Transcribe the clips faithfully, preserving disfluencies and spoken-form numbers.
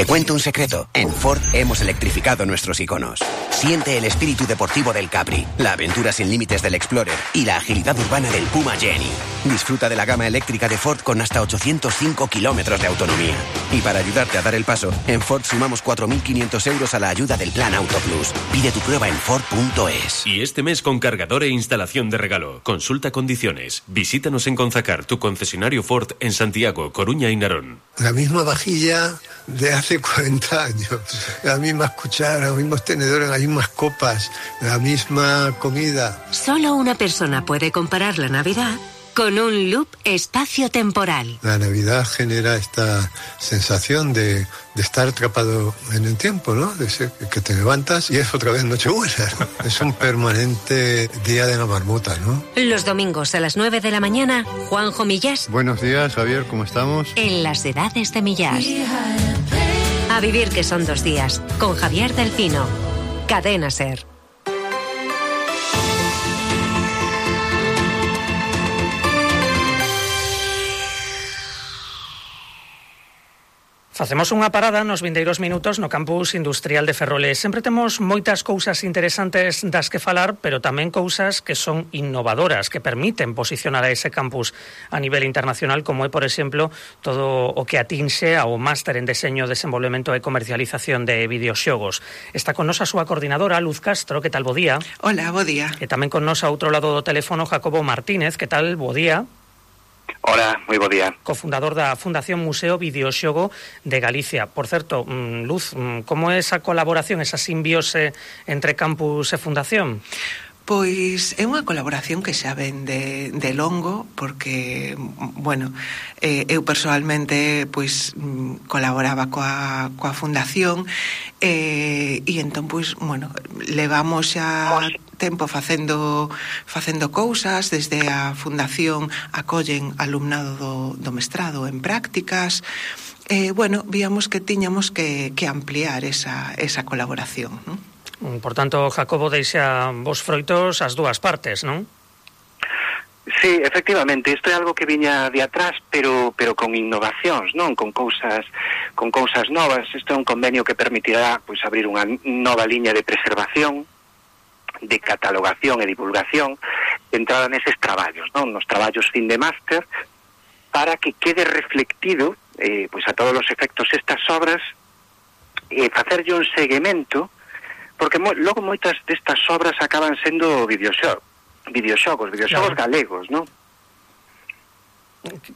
Te cuento un secreto. En Ford hemos electrificado nuestros iconos. Siente el espíritu deportivo del Capri, la aventura sin límites del Explorer y la agilidad urbana del Puma Jenny. Disfruta de la gama eléctrica de Ford con hasta ochocientos cinco kilómetros de autonomía. Y para ayudarte a dar el paso, en Ford sumamos cuatro mil quinientos euros a la ayuda del Plan Auto Plus. Pide tu prueba en Ford punto es. Y este mes con cargador e instalación de regalo. Consulta condiciones. Visítanos en Conzacar, tu concesionario Ford en Santiago, Coruña y Narón. La misma vajilla de hace cuarenta años, las mismas cucharas, los mismos tenedores, las mismas copas, la misma comida. Solo una persona puede comparar la Navidad con un loop espacio-temporal. La Navidad genera esta sensación de, de estar atrapado en el tiempo, ¿no? De ser que te levantas y es otra vez Nochebuena, ¿no? Es un permanente día de la marmota, ¿no? Los domingos a las nueve de la mañana, Juanjo Millás. Buenos días, Javier, ¿cómo estamos? En las edades de Millás. A vivir que son dos días, con Javier del Pino. Cadena SER. Facemos unha parada nos vindeiros minutos no campus industrial de Ferrol. Sempre temos moitas cousas interesantes das que falar, pero tamén cousas que son innovadoras, que permiten posicionar a ese campus a nivel internacional, como é, por exemplo, todo o que atinxe ao máster en deseño, desenvolvemento e comercialización de videoxogos. Está con nos a súa coordinadora, Luz Castro. Que tal, bo día? Hola, bo día. E tamén con nos a outro lado do teléfono, Jacobo Martínez. Que tal, bo día? Hola, moi bo día. Cofundador da Fundación Museo Videoxogo de Galicia. Por certo, Luz, como é esa colaboración, esa simbiose entre campus e fundación? Pois é unha colaboración que xa ven de, de longo, porque, bueno, eh, eu personalmente pois colaboraba coa, coa fundación eh, e entón, pois, bueno, levamos xa tempo facendo facendo cousas. Desde a fundación acollen alumnado do, do mestrado en prácticas. Eh, bueno, víamos que tiñamos que, que ampliar esa, esa colaboración, non? Por tanto, Jacobo, deixa vos froitos as dúas partes, non? Sí, efectivamente, isto é algo que viña de atrás, pero pero con innovacións, non? Con cousas con cousas novas. Isto é un convenio que permitirá pois abrir unha nova liña de preservación, de catalogación e divulgación centrada neses traballos, non? Nos traballos fin de máster, para que quede reflectido eh, pois a todos os efectos estas obras e facerlle un seguimento, porque mo, logo moitas destas obras acaban sendo videoxogos, videoxogos, videoxogos claro. galegos, non?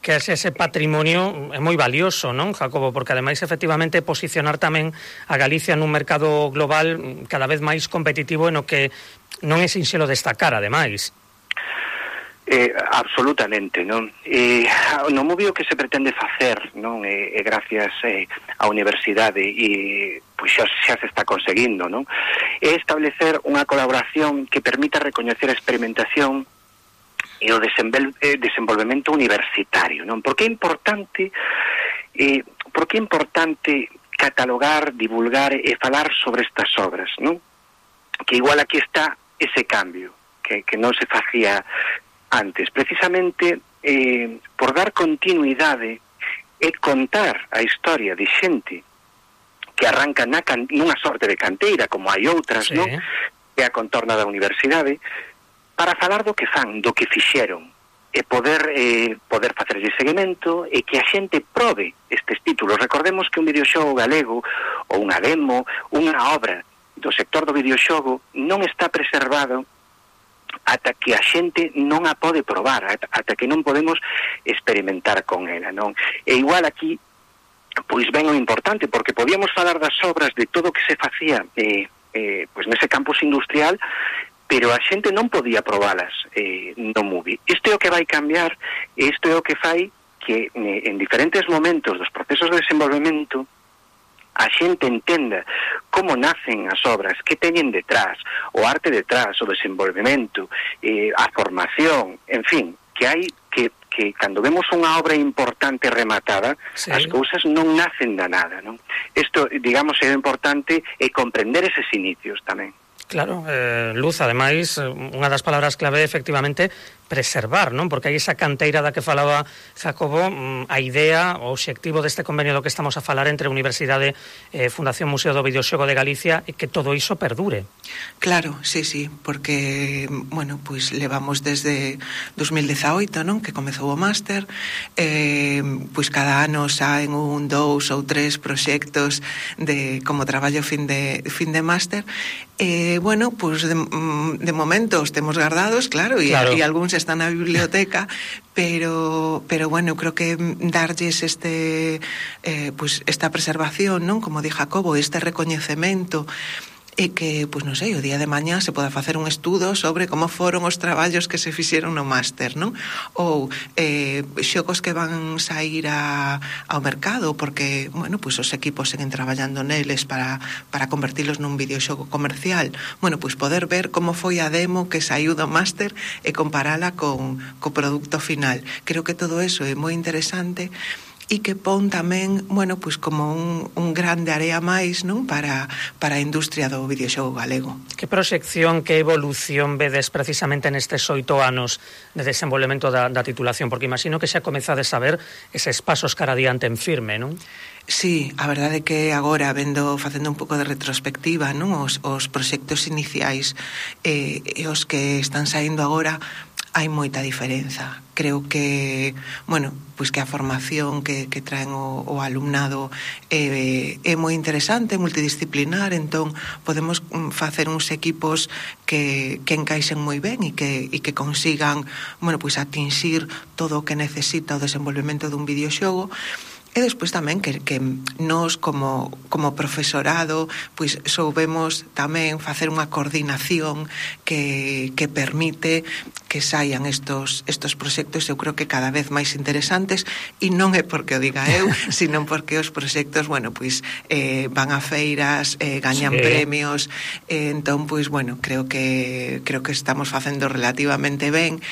Que ese patrimonio é moi valioso, non, Jacobo? Porque ademais, efectivamente, posicionar tamén a Galicia nun mercado global cada vez máis competitivo, no que non é sinxelo destacar, ademais. Eh, absolutamente, non? Eh, no movio que se pretende facer, non? Eh, eh, gracias eh, á universidade e pois xa, xa se está conseguindo, non? É establecer unha colaboración que permita recoñecer a experimentación e o desenvol- eh, desenvolvemento universitario, non? Porque é importante eh, porque é importante catalogar, divulgar e falar sobre estas obras, non? Que igual aquí está ese cambio que, que non se facía antes, precisamente eh, por dar continuidade e contar a historia de xente que arranca na can, nunha sorte de canteira, como hai outras, sí. non? Que a contorna da universidade, para falar do que fan, do que fixeron, e poder eh, poder facerlle seguimento e que a xente probe estes títulos. Recordemos que un videoxogo galego ou unha demo, unha obra do sector do videoxogo non está preservado ata que a xente non a pode probar, ata que non podemos experimentar con ela, non? E igual aquí, pois ben o importante, porque podíamos falar das obras de todo o que se facía eh, eh, pois nese campus industrial, pero a xente non podía probalas eh, no movie. Isto é o que vai cambiar, e isto é o que fai que eh, en diferentes momentos dos procesos de desenvolvemento a xente entenda como nacen as obras, que teñen detrás, o arte detrás, o desenvolvemento, eh, a formación, en fin, que hai que, que cando vemos unha obra importante rematada, sí. as cousas non nacen da nada, non? Isto, digamos, é importante é comprender eses inicios tamén. Claro, eh, Luz, ademais, unha das palabras clave é efectivamente preservar, non? Porque hai esa canteira da que falaba Jacobo, a idea, o obxectivo deste convenio do que estamos a falar entre a Universidade e eh, Fundación Museo do Videoxogo de Galicia é que todo iso perdure. Claro, sí, sí, porque, bueno, pois pues, levamos desde dos mil dezaoito, non? Que comezou o máster, eh, pois pues cada ano saen un, dous ou tres proxectos de como traballo fin de, fin de máster. Eh, bueno, pois pues de, de momento os temos guardados, claro, e claro. algúns están na biblioteca, pero pero bueno, creo que darlles este eh, pues esta preservación, non? Como di Jacobo, este recoñecemento e que, pois non sei, o día de mañá se poda facer un estudo sobre como foron os traballos que se fixeron no máster, non? Ou eh, xogos que van sair a, ao mercado, porque, bueno, pois os equipos seguen traballando neles para, para convertilos nun videoxogo comercial. Bueno, pois poder ver como foi a demo que saiu do máster e comparala con co produto final. Creo que todo eso é moi interesante e que pon tamén, bueno, pois como un, un grande área máis, non? Para, para a industria do videoxogo galego. Que proxección, que evolución vedes precisamente nestes oito anos de desenvolvemento da, da titulación? Porque imagino que xa comezades a ver eses pasos cara adiante en firme, non? Sí, a verdade é que agora, vendo, facendo un pouco de retrospectiva, non? Os, os proxectos iniciais eh, e os que están saindo agora, hai moita diferenza. Creo que, bueno, pois que a formación que, que traen o, o alumnado é, é moi interesante, multidisciplinar, entón podemos facer uns equipos que, que encaixen moi ben e que, e que consigan, bueno, pois atinxir todo o que necesita o desenvolvemento dun videoxogo. E despois tamén que, que nós como, como profesorado pois soubemos tamén facer unha coordinación que, que permite que saian estos, estos proxectos, eu creo que cada vez máis interesantes, e non é porque o diga eu, sino porque os proxectos, bueno, pois eh, van a feiras, eh, gañan sí. premios, eh, entón, pois, bueno, creo que creo que estamos facendo relativamente ben.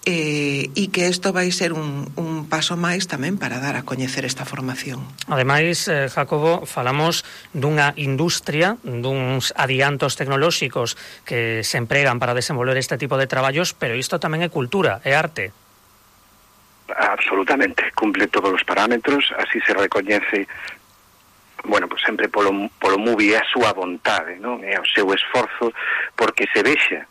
Eh, e que isto vai ser un, un paso máis tamén para dar a coñecer esta formación. Ademais, eh, Jacobo, falamos dunha industria, duns adiantos tecnolóxicos que se empregan para desenvolver este tipo de traballos, pero isto tamén é cultura, é arte. Absolutamente, cumple todos os parámetros, así se recoñece, bueno, pues sempre polo, polo movie a súa vontade, non? É o seu esforzo porque se vexa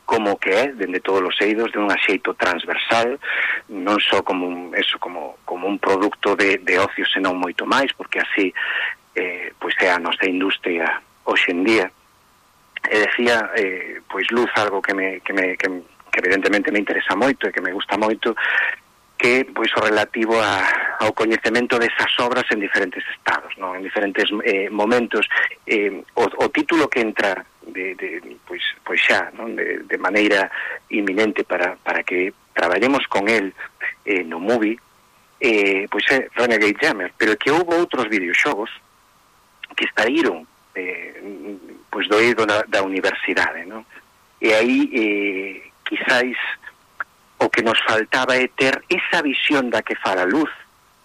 como que é, dende todos os eidos, de un axeito transversal, non só como un, eso, como, como un produto de, de ocio, senón moito máis, porque así eh, pois é a nosa industria hoxe en día. E decía, eh, pois Luz, algo que, me, que, me, que, que evidentemente me interesa moito e que me gusta moito, que pois o relativo a, ao coñecemento desas obras en diferentes estados, non? En diferentes eh, momentos. Eh, o, o título que entra de, de, pois, pois xa, non? De, de maneira inminente para, para que traballemos con el eh, no movie, eh, pois é Renegade Jammer, pero que houve outros videoxogos que estaíron eh, pois do eido da, da universidade, non? E aí eh, quizáis o que nos faltaba é ter esa visión da que fala Luz,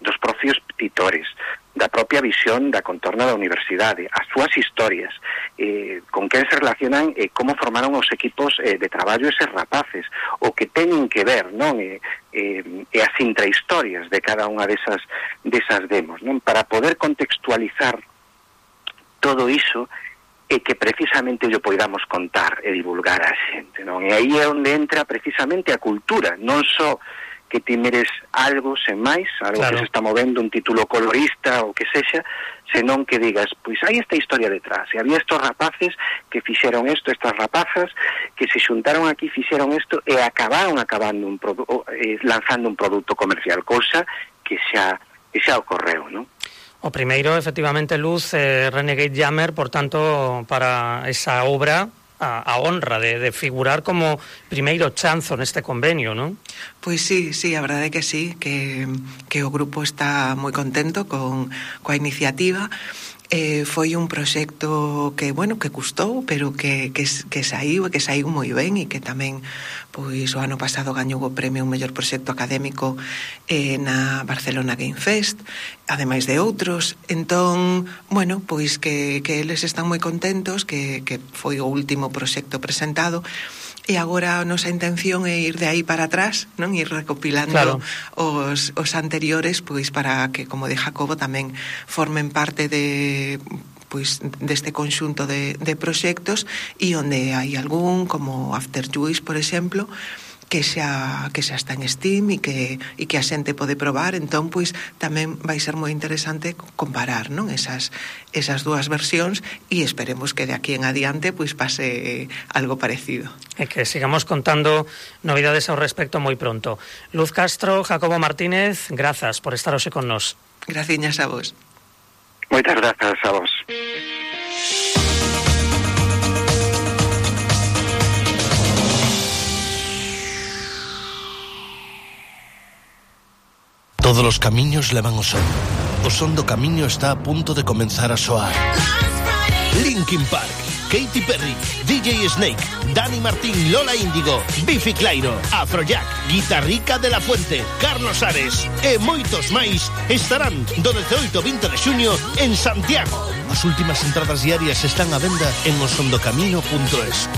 dos propios titores, da propia visión da contorna da universidade, as súas historias, eh, con quen se relacionan e eh, como formaron os equipos eh, de traballo eses rapaces, o que teñen que ver, non? E eh, eh, as intrahistorias de cada unha desas, desas demos, non? Para poder contextualizar todo iso e que precisamente yo poidamos contar e divulgar a xente, non? E aí é onde entra precisamente a cultura, non só que ti mires algo sen máis, algo claro. Que se está movendo, un título colorista ou que sexa, senón que digas, pois hai esta historia detrás, e había estos rapaces que fixeron isto, estas rapazas que se xuntaron aquí, fixeron isto e acabaron acabando un produ- eh, lanzando un produto comercial, cousa que xa, que xa ocorreu, non? O primeiro, efectivamente, Luz, eh, Renegade Jammer, por tanto, para esa obra, a, a honra de, de figurar como primeiro chanzo neste convenio, non? Pois sí, sí, a verdade é que sí, que, que o grupo está moi contento con coa iniciativa. Eh, foi un proxecto que, bueno, que custou, pero que, que, que saiu, e que saiu moi ben, e que tamén, pois, o ano pasado gañou o premio un mellor proxecto académico eh, na Barcelona Game Fest, ademais de outros. Entón, bueno, pois que, que eles están moi contentos, que, que foi o último proxecto presentado, e agora a nosa intención é ir de aí para atrás, non? Ir recopilando claro. os, os anteriores, pois para que, como de Jacobo, tamén formen parte de pois deste conxunto de, de proxectos, e onde hai algún, como After Juice, por exemplo, que xa, que xa está en Steam e que, e que a xente pode probar. Entón, pois, tamén vai ser moi interesante comparar, non? Esas, esas dúas versións, e esperemos que de aquí en adiante, pois, pase algo parecido. E que sigamos contando novidades ao respecto moi pronto. Luz Castro, Jacobo Martínez, grazas por estar hoxe con nos. Graciñas a vos. Moitas grazas a vos. Todos os camiños levan o son. O son do camiño está a punto de comenzar a soar. Linkin Park, Katy Perry, D J Snake, Dani Martín, Lola Índigo, Bifi Clyro, Afrojack, Guitarrica de la Fuente, Carlos Ares e moitos máis estarán do dezenoito ao vinte de xuño en Santiago. As últimas entradas diarias están á venda en osondocamino punto es.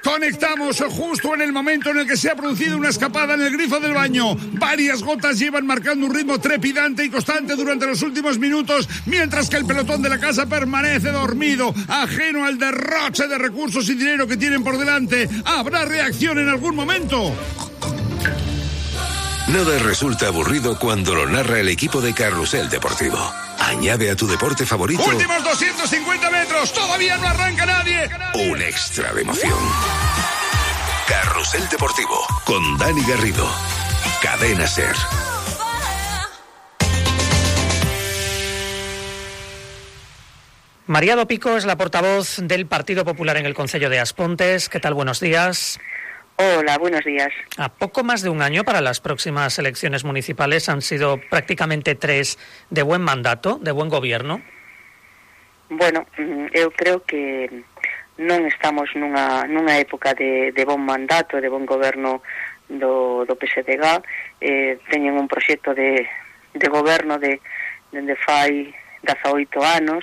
Conectamos justo en el momento en el que se ha producido una escapada en el grifo del baño. Varias gotas llevan marcando un ritmo trepidante y constante durante los últimos minutos, mientras que el pelotón de la casa permanece dormido, ajeno al derroche de recursos y dinero que tienen por delante. ¿Habrá reacción en algún momento? Nada resulta aburrido cuando lo narra el equipo de Carrusel Deportivo. Añade a tu deporte favorito... ¡Últimos doscientos cincuenta metros! ¡Todavía no arranca nadie! Un extra de emoción. Carrusel Deportivo, con Dani Garrido. Cadena SER. María Dopico es la portavoz del Partido Popular en el Concello de Aspontes. ¿Qué tal? Buenos días. Hola, buenos días. A poco más de un año para las próximas elecciones municipales, han sido prácticamente tres de buen mandato, de buen gobierno. Bueno, eu creo que non estamos nunha, nunha época de, de bon mandato, de bon goberno do, do P S D G. Eh, teñen un proxecto de, de goberno de, de fai dezaoito anos,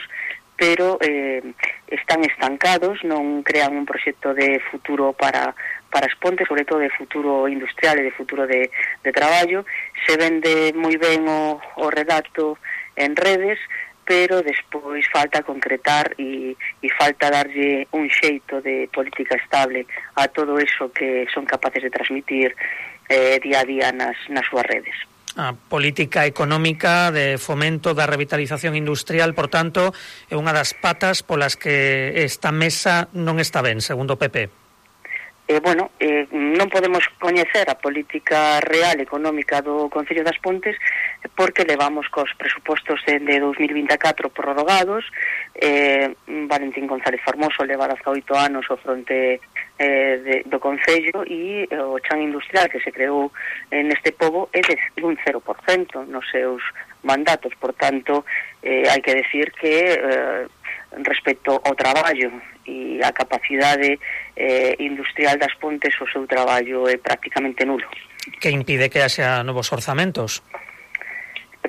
pero eh, están estancados, non crean un proxecto de futuro para para Aspontes, sobre todo de futuro industrial e de futuro de, de traballo. Se vende moi ben o, o relato en redes, pero despois falta concretar e, e falta darlle un xeito de política estable a todo eso que son capaces de transmitir eh, día a día nas, nas súas redes. A política económica de fomento da revitalización industrial, por tanto, é unha das patas polas que esta mesa non está ben, segundo o P P. Eh, bueno, eh, non podemos coñecer a política real económica do Concello de Aspontes porque levamos cos presupostos de, de dos mil vinte e catro prorrogados. eh, Valentín González Formoso leva dezaoito anos ao fronte eh, de, do Concello, e o chan industrial que se creou neste pobo é de un cero por cento nos seus mandatos. Por tanto, eh, hai que decir que eh, respecto ao traballo e a capacidade eh, industrial das Pontes, o seu traballo é prácticamente nulo. Que impide que haxa novos orzamentos?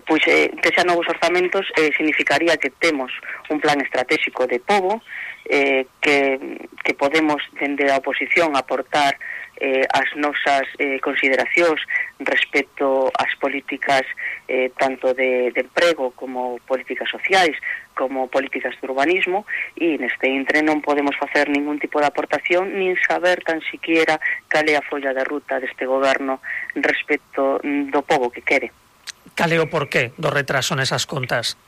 Pois eh, que xa novos orzamentos eh, significaría que temos un plan estratégico de pobo, eh, que, que podemos dende a oposición aportar eh, as nosas eh, consideracións respecto ás políticas eh, tanto de, de emprego como políticas sociais como políticas de urbanismo, e neste intre non podemos facer ningún tipo de aportación nin saber tan siquiera cal é a folla de ruta deste goberno respecto do pobo que quere. Cal é o porqué do retraso nesas contas?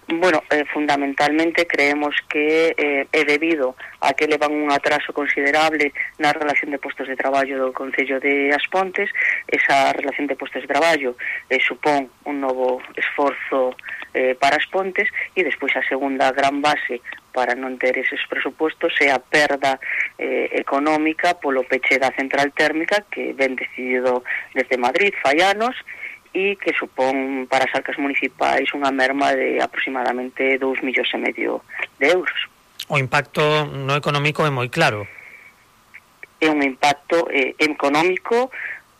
Bueno, eh, fundamentalmente creemos que eh, é debido a que levan un atraso considerable na relación de postos de traballo do Concello de Aspontes. Esa relación de postos de traballo eh, supón un novo esforzo eh, para Aspontes, e despois a segunda gran base para non ter eses presupostos é a perda eh, económica polo peche da central térmica que ven decidido desde Madrid fai anos, e que supón para as arcas municipais unha merma de aproximadamente dous millóns e medio de euros. O impacto no económico é moi claro. É un impacto eh, económico,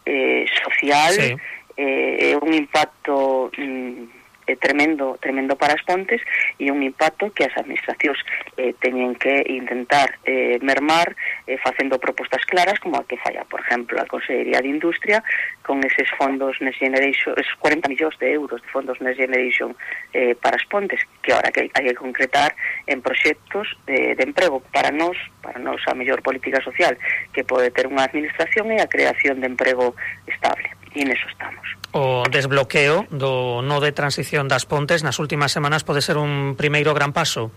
eh, social, sí. eh, é un impacto mm, é tremendo, tremendo para as Pontes, e un impacto que as administracións eh, teñen que intentar eh, mermar eh, facendo propostas claras, como a que falla, por exemplo, a Consellería de Industria, con eses fondos Next Generation, esos cuarenta millóns de euros de fondos Next Generation eh, para as Pontes, que ahora que hai que concretar en proxectos de, de emprego para nós, para nós a mellor política social que pode ter unha administración e a creación de emprego estable, e neso estamos. O desbloqueo do no de transición das Pontes nas últimas semanas pode ser un primeiro gran paso?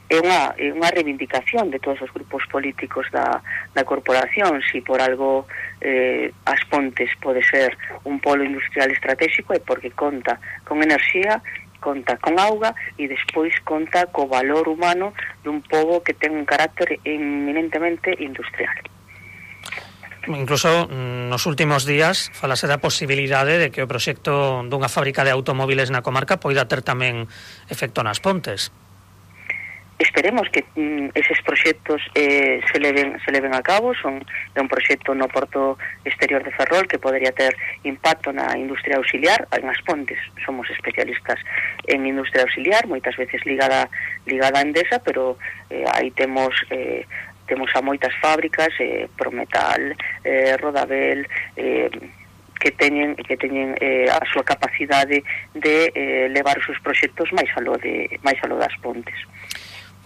É unha, é unha reivindicación de todos os grupos políticos da, da corporación. Si por algo eh, as Pontes pode ser un polo industrial estratégico é porque conta con enerxía, conta con auga e despois conta co valor humano dun pobo que ten un carácter eminentemente industrial. Incluso nos últimos días falase da posibilidade de que o proxecto dunha fábrica de automóviles na comarca poida ter tamén efecto nas Pontes. Esperemos que mm, eses proxectos eh, se leven se leven a cabo. Son de un proxecto no porto exterior de Ferrol que podría ter impacto na industria auxiliar. En as Pontes somos especialistas en industria auxiliar, moitas veces ligada ligada a Endesa, pero eh, aí temos eh, temos a moitas fábricas, eh, Prometal, eh, Rodabel, eh, que teñen que teñen eh, a súa capacidade de eh, levar os seus proxectos máis aló de máis aló das Pontes.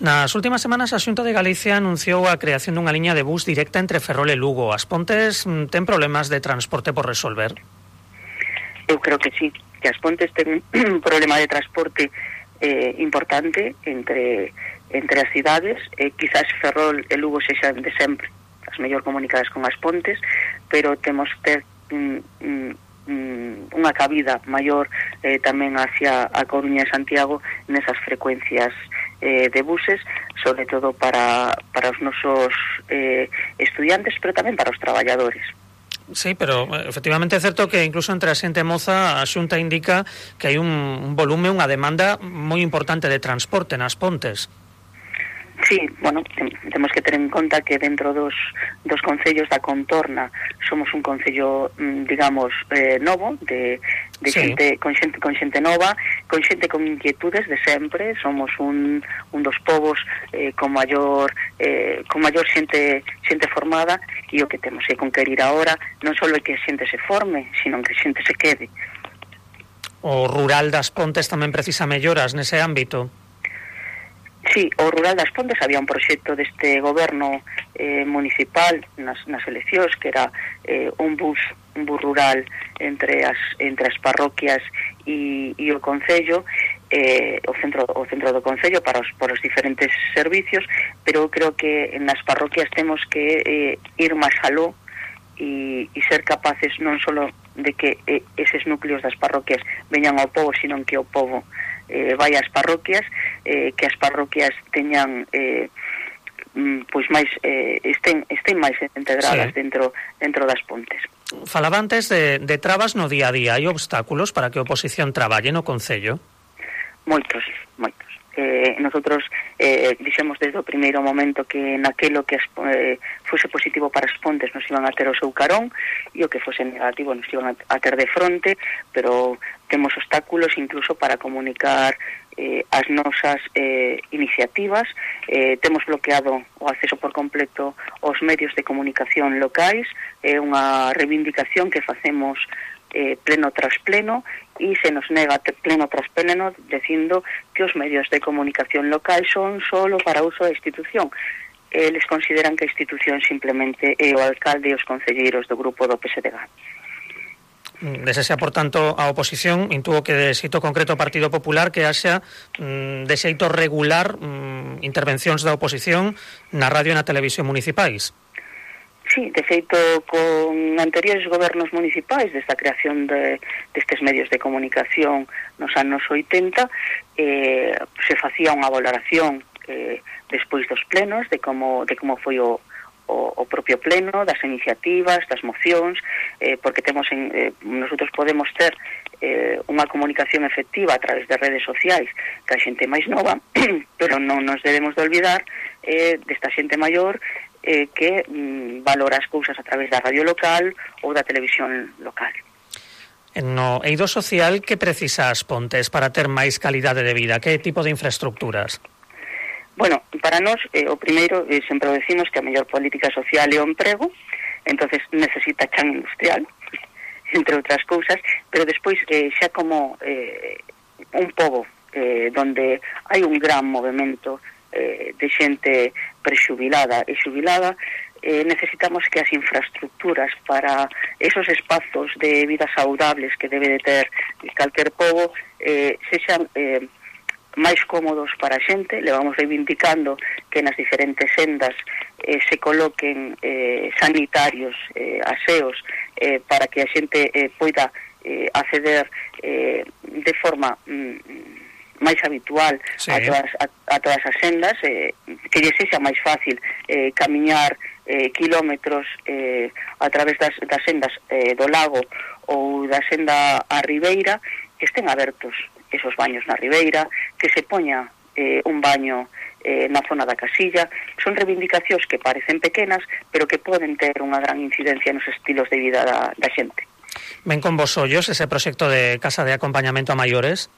Nas últimas semanas a Xunta de Galicia anunciou a creación dunha liña de bus directa entre Ferrol e Lugo. As Pontes ten problemas de transporte por resolver? Eu creo que sí, que as Pontes ten un problema de transporte eh, importante entre entre as cidades, eh, quizás Ferrol e Lugo sexan de sempre as mellor comunicadas con as Pontes, pero temos ter mm, mm, unha cabida maior eh, tamén hacia a Coruña e Santiago nesas frecuencias eh, de buses, sobre todo para, para os nosos eh, estudiantes, pero tamén para os traballadores. Sí, pero efectivamente é certo que incluso entre a xente moza a Xunta indica que hai un, un volume, unha demanda moi importante de transporte nas Pontes. Sí, bueno, temos que ter en conta que dentro dos, dos concellos da contorna somos un concello, digamos, eh, novo, de, de sí. xente, con xente con xente nova, con xente con inquietudes de sempre. Somos un, un dos povos eh, con maior eh, con maior xente xente formada, e o que temos que conquerir agora non só é que a xente se forme, sino que a xente se quede. O rural das Pontes tamén precisa melloras nese ámbito? Sí, o rural das Pontes había un proxecto deste goberno eh, municipal nas, nas eleccións que era eh, un bus un bus rural entre as entre as parroquias e, e o concello, eh, o centro o centro do concello para os por os diferentes servicios, pero creo que nas parroquias temos que eh, ir máis aló e, e ser capaces non só de que eh, eses núcleos das parroquias veñan ao pobo, sino que o pobo eh, vai ás parroquias, eh, que as parroquias teñan eh, pois máis eh, estén estén máis integradas sí. dentro dentro das Pontes. Falaba antes de, de trabas no día a día. Hai obstáculos para que a oposición traballe no concello? Moitos, moitos. Eh, nosotros eh, dixemos desde o primeiro momento que naquelo que as, eh, fose positivo para as Pontes nos iban a ter o seu carón, e o que fose negativo nos iban a, a ter de fronte, pero temos obstáculos incluso para comunicar eh, as nosas eh, iniciativas. Eh, temos bloqueado o acceso por completo aos medios de comunicación locais. É unha reivindicación que facemos eh, pleno tras pleno, e se nos nega pleno tras pleno dicindo que os medios de comunicación local son solo para uso da institución. Eles consideran que a institución simplemente é o alcalde e os concelleiros do grupo do P S D G. Desexea, por tanto, a oposición, intuo que de xeito concreto o Partido Popular, que haxa mm, de xeito regular mm, intervencións da oposición na radio e na televisión municipais. Sí, de feito, con anteriores gobernos municipais, desta creación de, destes medios de comunicación nos anos oitenta, eh, se facía unha valoración eh, despois dos plenos de como, de como foi o, o, o propio pleno, das iniciativas, das mocións, eh, porque temos en, eh, nosotros podemos ter eh, unha comunicación efectiva a través de redes sociais que a xente máis nova, pero non nos debemos de olvidar eh, desta xente maior eh, que mm, valora as cousas a través da radio local ou da televisión local. No eido social, que precisa as Pontes para ter máis calidade de vida? Que tipo de infraestructuras? Bueno, para nós, eh, o primeiro, eh, sempre o decimos que a mellor política social é o emprego, entonces necesita chan industrial, entre outras cousas, pero despois eh, xa como eh, un pobo eh, donde hai un gran movimento eh, de xente prexubilada e xubilada, eh, necesitamos que as infraestructuras para esos espazos de vida saudables que debe de ter calquer pobo eh, sexan eh, máis cómodos para a xente. Le vamos reivindicando que nas diferentes sendas eh, se coloquen eh, sanitarios, eh, aseos, eh, para que a xente eh, poida eh, acceder eh, de forma mm, máis habitual sí. a, todas, a, a todas as sendas, eh, que lle sexa máis fácil eh, camiñar eh, kilómetros eh, a través das, das sendas eh, do lago ou da senda a Ribeira, que estén abertos esos baños na Ribeira, que se poña eh, un baño eh, na zona da Casilla. Son reivindicacións que parecen pequenas, pero que poden ter unha gran incidencia nos estilos de vida da, da xente. Ven con vos ollos ese proxecto de Casa de Acompañamento a Maiores?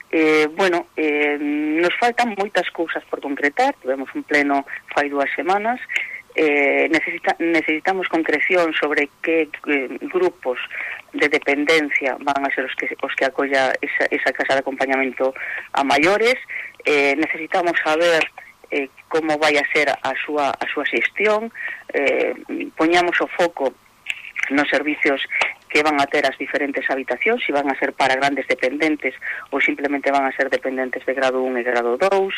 Eh, bueno, eh, nos faltan moitas cousas por concretar. Tivemos un pleno fai dúas semanas. Eh, necesita, necesitamos concreción sobre que eh, grupos de dependencia van a ser os que, os que acolla esa, esa casa de acompañamento a maiores. Eh, necesitamos saber eh, como vai a ser a súa, a súa xestión. Eh, poñamos o foco nos servicios que van a ter as diferentes habitacións, se van a ser para grandes dependentes ou simplemente van a ser dependentes de grado un e grado dous.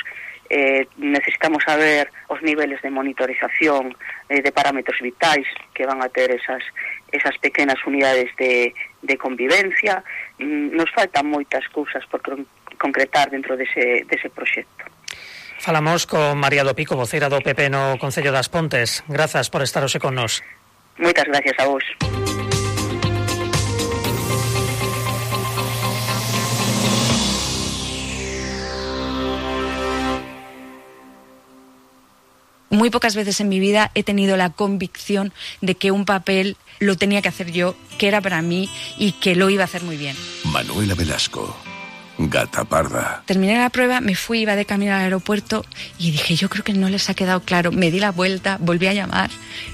Eh, necesitamos saber os niveles de monitorización eh, de parámetros vitais que van a ter esas, esas pequenas unidades de, de convivencia. Mm, nos faltan moitas cousas por concretar dentro dese, dese proxecto. Falamos con María do Pico, voceira do P P no Concello das Pontes. Grazas por estar hoxe con nós. Moitas gracias a vos. Muy pocas veces en mi vida he tenido la convicción de que un papel lo tenía que hacer yo, que era para mí y que lo iba a hacer muy bien. Manuela Velasco, Gata Parda. Terminé la prueba, me fui, iba de camino al aeropuerto y dije, yo creo que no les ha quedado claro. Me di la vuelta, volví a llamar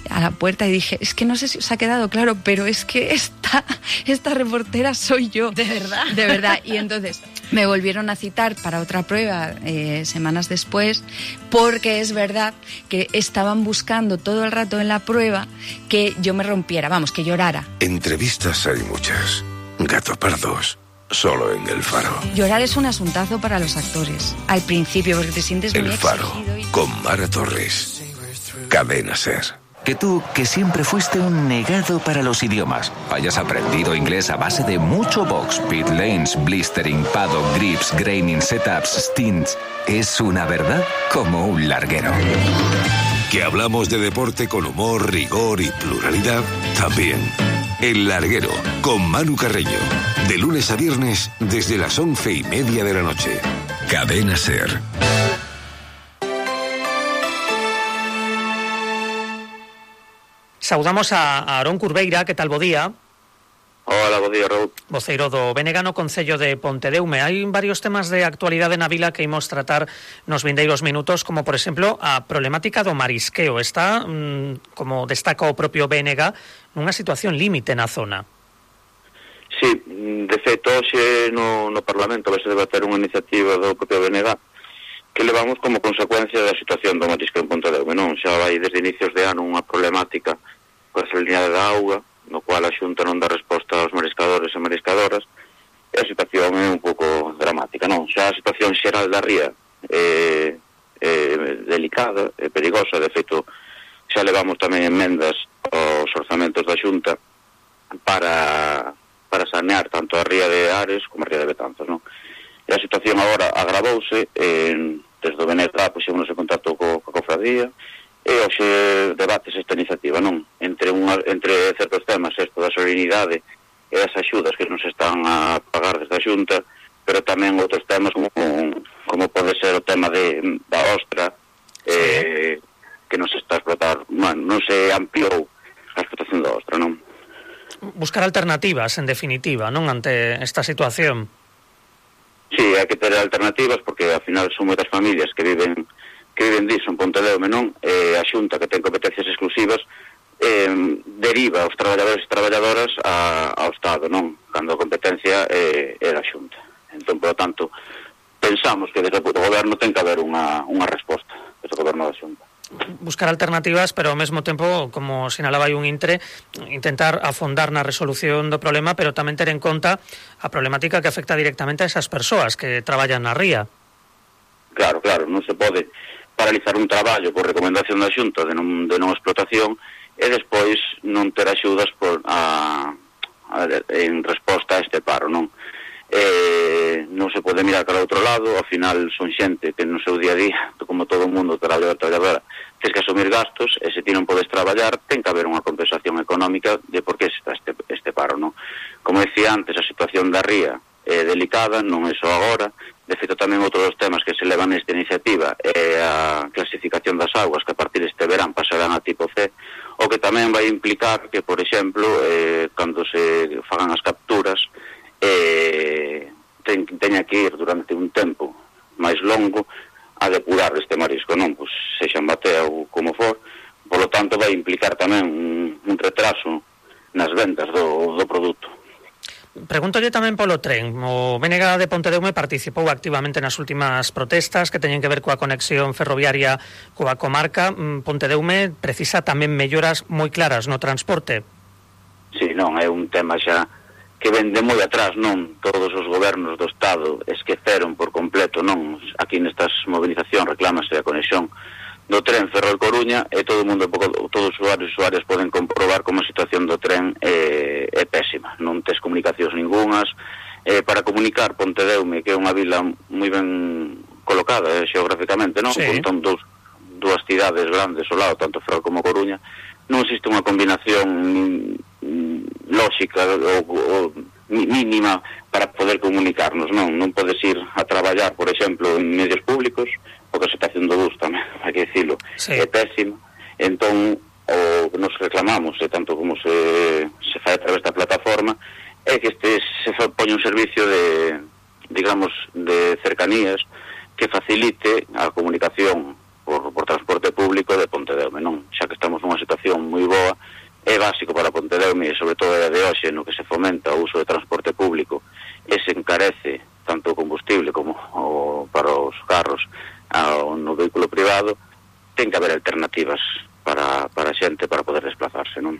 a la puerta y dije, es que no sé si os ha quedado claro, pero es que esta, esta reportera soy yo. ¿De verdad? De verdad. Y entonces me volvieron a citar para otra prueba eh, semanas después, porque es verdad que estaban buscando todo el rato en la prueba que yo me rompiera, vamos, que llorara. Entrevistas hay muchas. Gato Pardos. Solo en El Faro. Llorar es un asuntazo para los actores. Al principio, porque te sientes muy El Faro, exigido y... con Mara Torres. Cadena Ser. Que tú, que siempre fuiste un negado para los idiomas, hayas aprendido inglés a base de mucho box, pit lanes, blistering, paddock, grips, graining, setups, stints, es una verdad como un larguero. Que hablamos de deporte con humor, rigor y pluralidad, también. El Larguero, con Manu Carreño. De lunes a viernes, desde las once y media de la noche. Cadena Ser. Saudamos a Aarón Curveira, que tal bo día? Hola, bo día, Raúl. Voceiro do B N G no Concello de Pontedeume. Hai varios temas de actualidade na vila que imos tratar nos vindeiros minutos, como, por exemplo, a problemática do marisqueo. Está, mmm, como destaca o propio B N G, nunha situación límite na zona. Sí, de feito, hoxe no, no Parlamento vai se debater unha iniciativa do propio B N G que levamos como consecuencia da situación do marisqueo en Pontedeume, non? Xa vai desde inicios de ano unha problemática coa salinidade da auga, no cual a Xunta non dá resposta aos mariscadores e mariscadoras, e a situación é un pouco dramática, non? Xa a situación xeral da ría é, é delicada, é perigosa, de feito, xa levamos tamén enmendas aos orzamentos da Xunta para, para sanear tanto a ría de Ares como a ría de Betanzos, non? E a situación agora agravouse, en, desde o B N G puxémonos en contacto co, co cofradía, e hoxe debates esta iniciativa, non? Entre, unha, entre certos temas, isto da solemnidade e as axudas que nos están a pagar desde a Xunta, pero tamén outros temas como, como pode ser o tema de, da ostra, sí. eh, que nos está a explotar, bueno, non se ampliou a explotación da ostra, non? Buscar alternativas, en definitiva, non, ante esta situación. Sí, hai que ter alternativas porque ao final son moitas familias que viven que viven diso en Pontedeume, non? E a Xunta, que ten competencias exclusivas, eh, deriva os traballadores e traballadoras a, ao Estado, non? Cando a competencia eh, é da Xunta. Entón, por lo tanto, pensamos que desde o goberno ten que haber unha, unha resposta desde o goberno da Xunta. Buscar alternativas, pero ao mesmo tempo, como sinalaba aí un intre, intentar afondar na resolución do problema, pero tamén ter en conta a problemática que afecta directamente a esas persoas que traballan na ría. Claro, claro, non se pode paralizar un traballo por recomendación da Xunta de non, de non explotación e despois non ter axudas por, a, a, en resposta a este paro, non? Eh, non se pode mirar para outro lado, ao final son xente que no seu día a día, como todo o mundo, traballador, traballadora, tens que asumir gastos e se ti non podes traballar, ten que haber unha compensación económica de por que está este, este paro, non? Como decía antes, a situación da ría é delicada, non é só agora. De feito, tamén outro dos temas que se levan nesta iniciativa é a clasificación das aguas, que a partir deste verán pasarán a tipo C, o que tamén vai implicar que, por exemplo, eh, cando se fagan as capturas, eh, ten, teña que ir durante un tempo máis longo a depurar este marisco, non? Pois sexa en batea ou como for, polo tanto vai implicar tamén un, un retraso nas ventas do, do produto. Pregúntolle tamén polo tren. O B N G de Pontedeume participou activamente nas últimas protestas que teñen que ver coa conexión ferroviaria coa comarca. Pontedeume precisa tamén melloras moi claras no transporte. Sí, non, é un tema xa que ven de moi atrás, non? Todos os gobernos do Estado esqueceron por completo, non? Aquí nestas movilizacións reclámase a conexión do tren Ferrol-Coruña e todo o mundo, todos os usuarios e usuarias poden comprobar como a situación do tren é, é pésima. Non tes comunicacións ningunhas. Eh, para comunicar Pontedeume, que é unha vila moi ben colocada eh, xeográficamente, non? Sí. Con dous, dúas cidades grandes ao lado, tanto Ferrol como Coruña, non existe unha combinación mm, lóxica ou, ou mínima para poder comunicarnos, non? Non podes ir a traballar, por exemplo, en medios públicos, porque a situación do bus tamén, hai que dicilo, sí. É pésima. Entón, o que nos reclamamos, e tanto como se, se fai a través da plataforma, é que este se pone un servicio de, digamos, de cercanías que facilite a comunicación por, por transporte público de Pontedeume, non? Xa que estamos nunha situación moi boa, é básico para Pontedeume, e sobre todo é de hoxe, no que se fomenta o uso de transporte público, e se encarece tanto o combustible como o, para os carros, ao, no vehículo privado, ten que haber alternativas para, para a xente para poder desplazarse, non?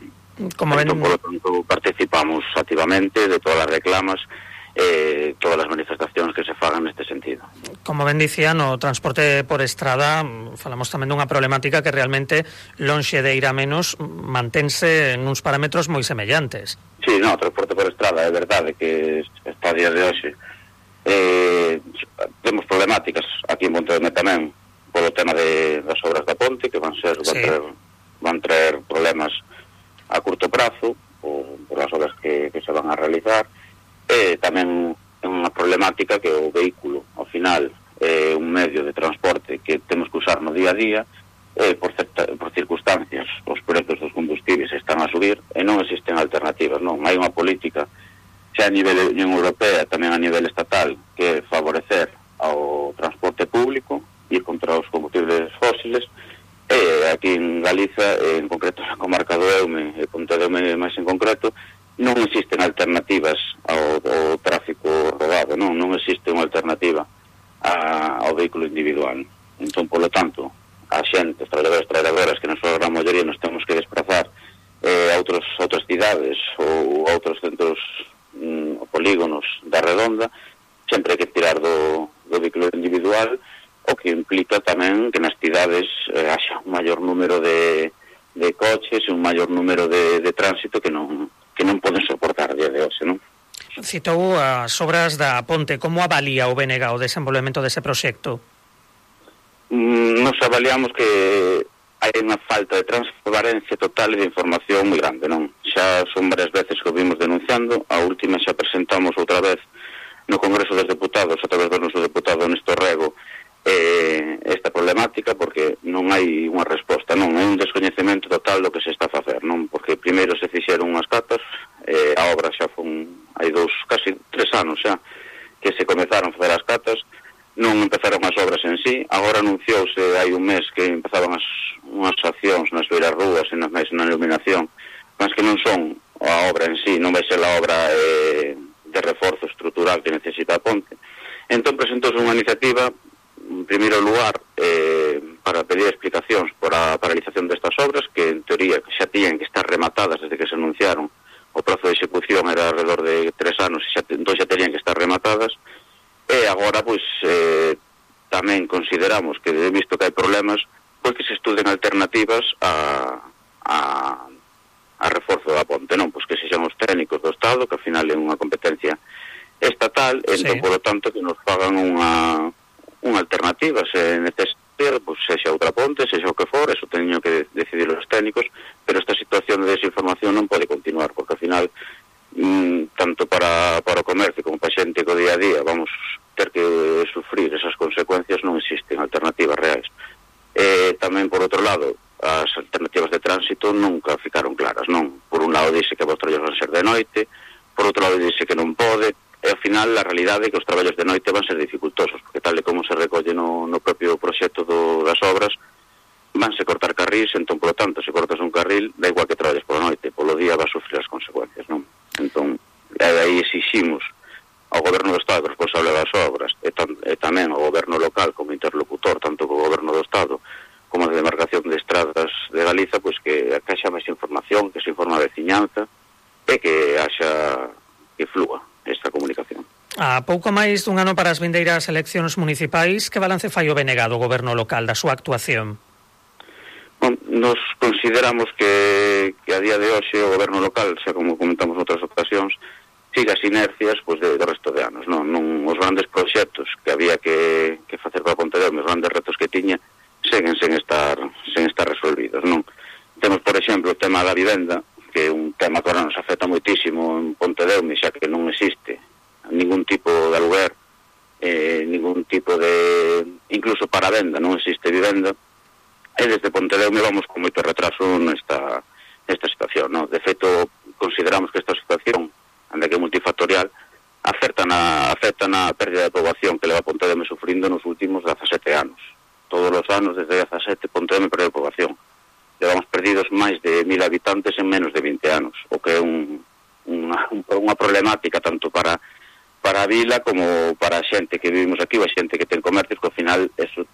Como ven... Entón, por lo tanto, participamos activamente de todas as reclamas, eh, todas as manifestacións que se fagan neste sentido. Como ben dicía, no transporte por estrada falamos tamén dunha problemática que realmente lonxe de ir a menos mantense nuns parámetros moi semellantes. Sí, no, o transporte por estrada é verdade que está a día de hoxe eh, temos problemáticas aquí en Pontedeume tamén polo tema de, das obras da ponte que van ser van, sí. traer, van traer problemas a curto prazo por, por as obras que, que se van a realizar e tamén é unha problemática que o vehículo ao final é un medio de transporte que temos que usar no día a día e por, certa, por circunstancias os prezos dos combustibles están a subir e non existen alternativas, non? Hai unha política xa a nivel de Unión Europea, tamén a nivel estatal, que favorecer ao transporte público, ir contra os combustibles fósiles, e aquí en Galiza, en concreto na comarca do Eume, e Pontedeume máis en concreto, non existen alternativas ao, ao tráfico rodado, non, non existe unha alternativa a, ao vehículo individual. Entón, polo tanto, a xente, os traballadores e traballadoras que na súa gran maioría nos temos que desplazar eh, a outros, outras cidades ou a outros centros mm, polígonos da redonda, sempre hai que tirar do, do vehículo individual, o que implica tamén que nas cidades eh, haxa un maior número de, de coches e un maior número de, de tránsito que non, que non poden soportar a día de hoxe, non? Citou as obras da ponte. Como avalía o B N G o desenvolvemento dese proxecto? Mm, nos avaliamos que hai unha falta de transparencia total e de información moi grande, non? Xa son varias veces que o vimos denunciando, a última xa presentamos outra vez no Congreso dos Deputados, a través do noso deputado Néstor Rego, eh, esta problemática, porque non hai unha resposta, non? É un descoñecemento total do que se está a facer, non? Porque primeiro se fixeron unhas catas, eh, a obra xa fun, hai dous, casi tres anos xa, que se comezaron a facer as catas, non empezaron as obras en sí, agora anunciouse hai un mes que empezaban as unhas accións nas beiras rúas e nas máis na iluminación, mas que non son a obra en sí, non vai ser a obra eh, de reforzo estrutural que necesita a ponte. Entón presentouse unha iniciativa, en primeiro lugar, eh, para pedir explicacións por a paralización destas obras, que en teoría xa tiñan que estar rematadas desde que se anunciaron. O prazo de execución era alrededor de tres anos e xa, entón xa terían que estar rematadas. E agora, pois, eh, tamén consideramos que, visto que hai problemas, pois que se estuden alternativas a, a, a reforzo da ponte, non? Pois que sexan os técnicos do Estado, que ao final é unha competencia estatal, sí. Entón, por lo tanto, que nos fagan unha, unha alternativa, se necesita, pois sexa outra ponte, sexa o que for, eso teño que decidir os técnicos, pero esta situación de desinformación non pode continuar, porque ao final, tanto para, para o comercio como para a xente co día a día vamos ter que sufrir esas consecuencias, non existen alternativas reais. E tamén, por outro lado, as alternativas de tránsito nunca ficaron claras, non? Por un lado dice que os traballos van ser de noite, por outro lado dice que non pode, e ao final a realidade é que os traballos de noite van ser dificultosos, porque tal e como se recolle no, no propio proxecto do, das obras, vanse cortar carrís, entón, por lo tanto, se cortas un carril, da igual que traballes pola noite, polo día vas a sufrir as consecuencias, non? Entón, aí exiximos ao goberno do Estado responsable das obras e, tam, e tamén ao goberno local como interlocutor, tanto co goberno do Estado como a demarcación de estradas de Galiza, pois que haxa máis información, que se informe a veciñanza e que haxa que flúa esta comunicación. A pouco máis dun ano para as vindeiras eleccións municipais, que balance fai o B N G do goberno local da súa actuación? Bon, nos consideramos que, que a día de hoxe o goberno local, xa como comentamos outras ocasións, siga as inercias pois, de, do resto de anos. Non, non os grandes proxectos que había que, que facer para Pontedeume, os grandes retos que tiña, seguen sen estar, sen estar resolvidos. Non? Temos, por exemplo, o tema da vivenda, que é un tema que ahora nos afecta moitísimo en Pontedeume, xa que non existe ningún tipo de aluguer, eh, ningún tipo de... incluso para venda, non existe vivenda, e desde Pontedeume vamos con moito retraso nesta, nesta situación. Non? De feito, consideramos que esta situación, anda que é multifactorial, afecta na, afecta na pérdida de poboación que leva Pontedeume sufrindo nos últimos dezasete anos. Todos os anos, desde dezasete, Pontedeume perde poboación. Levamos perdidos máis de mil habitantes en menos de vinte anos, o que é un, unha, unha problemática tanto para, para a vila como para a xente que vivimos aquí, ou a xente que ten comercios, que ao final eso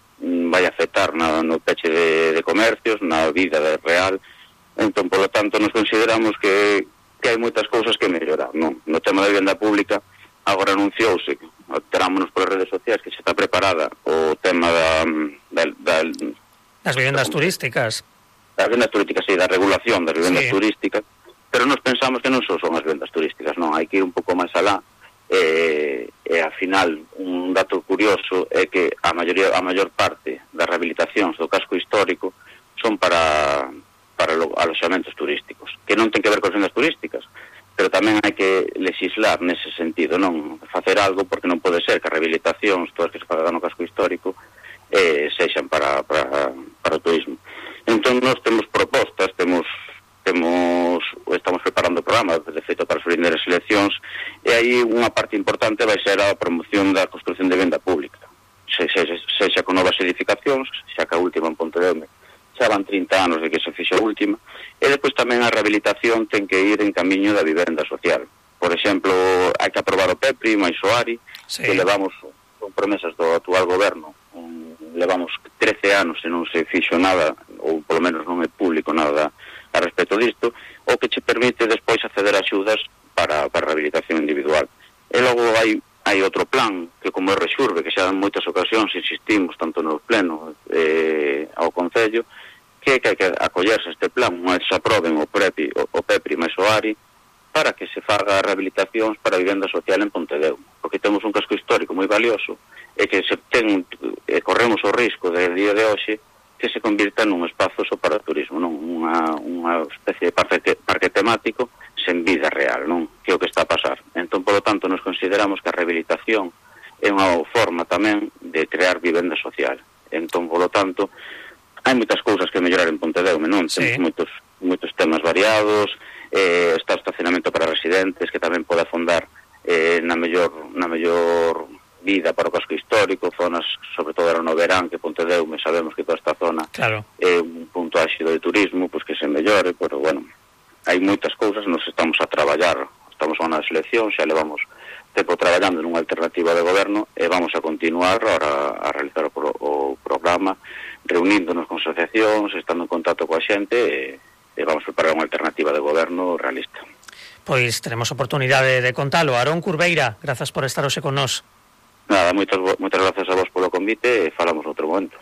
vai afectar na, no peche de, de comercios, na vida de real. Entón, por lo tanto, nos consideramos que que hai moitas cousas que mellorar, non? No tema da vivenda pública, agora anunciouse, terámonos por as redes sociais que xa está preparada o tema da... da, da das vivendas da, turísticas. Das vivendas turísticas, sí, da regulación das vivendas sí. turísticas, pero nos pensamos que non só son as vivendas turísticas, non, hai que ir un pouco máis alá, e, e ao final, un dato curioso é que a maioría, a maior parte das rehabilitacións do casco histórico son para... para aloxamentos turísticos, que non ten que ver con sendas turísticas, pero tamén hai que legislar nese sentido, non facer algo, porque non pode ser que as rehabilitacións, todas que se fagan no casco histórico, eh, sexan para, para, para o turismo. Entón, nós temos propostas, temos, temos estamos preparando o programa, de feito, para as primeiras eleccións, e aí unha parte importante vai ser a promoción da construcción de venda pública, se, se, sexa con novas edificacións, xa que a última en Pontedeume xa van trinta anos de que se fixe a última, e depois tamén a rehabilitación ten que ir en camiño da vivenda social. Por exemplo, hai que aprobar o PEPRI, máis o ARI, sí. que levamos con promesas do actual goberno, um, levamos trece anos e non se fixo nada, ou polo menos non é público nada a respecto disto, o que che permite despois acceder a axudas para, para a rehabilitación individual. E logo hai hai outro plan, que como é Rexurbe, que xa en moitas ocasións insistimos, tanto no pleno eh, ao Concello, que hai que acollerse este plan, unha vez se aproben o, prepi, o, o PEPRI máis o ARI, para que se faga rehabilitacións para a vivenda social en Pontedeume, porque temos un casco histórico moi valioso, e que se ten, e corremos o risco de día de hoxe que se convirta nun espazo só para o turismo, non? Unha, unha especie de parque, parque temático sen vida real, non? Que é o que está a pasar. Entón, polo tanto, nos consideramos que a rehabilitación é unha forma tamén de crear vivenda social. Entón, polo tanto, hai moitas cousas que mellorar en Pontedeume, non? Sí. Temos moitos, moitos temas variados, eh, está o estacionamento para residentes, que tamén pode afondar eh, na mellor na mellor vida para o casco histórico, zonas, sobre todo era no verán, que Pontedeume, sabemos que toda esta zona claro. é un punto áxido de turismo, pois pues que se mellore, pero bueno, hai moitas cousas, nos estamos a traballar, estamos a unha selección, xa levamos tempo traballando nunha alternativa de goberno e vamos a continuar ahora a realizar o, pro, o programa, reuníndonos con asociacións, estando en contacto coa xente e, e vamos a preparar unha alternativa de goberno realista. Pois teremos oportunidade de contalo. Aarón Curveira, grazas por estar hoxe con nós. Nada, moitas, moitas gracias a vos polo convite e falamos outro momento.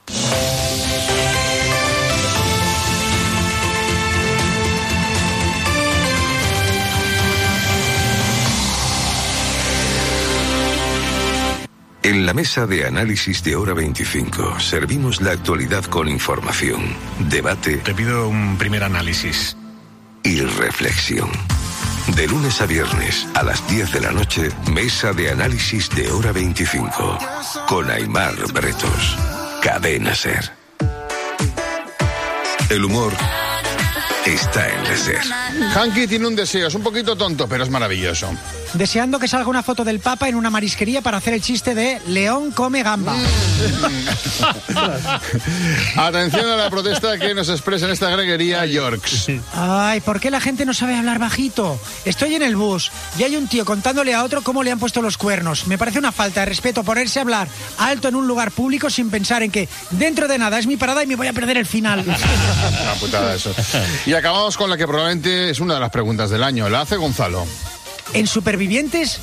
En la mesa de análisis de Hora veinticinco servimos la actualidad con información, debate... Te pido un primer análisis. ...y reflexión. De lunes a viernes a las diez de la noche, mesa de análisis de Hora veinticinco. Con Aimar Bretos. Cadena SER. El humor está en la SER. Hanky tiene un deseo, es un poquito tonto, pero es maravilloso. Deseando que salga una foto del Papa en una marisquería para hacer el chiste de León come gamba. Atención a la protesta que nos expresa en esta greguería Yorks. Ay, ¿por qué la gente no sabe hablar bajito? Estoy en el bus y hay un tío contándole a otro cómo le han puesto los cuernos. Me parece una falta de respeto ponerse a hablar alto en un lugar público sin pensar en que dentro de nada es mi parada y me voy a perder el final. Una putada eso. Y acabamos con la que probablemente es una de las preguntas del año. La hace Gonzalo. ¿En Supervivientes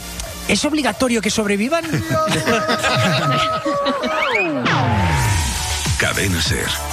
es obligatorio que sobrevivan? Cadena SER.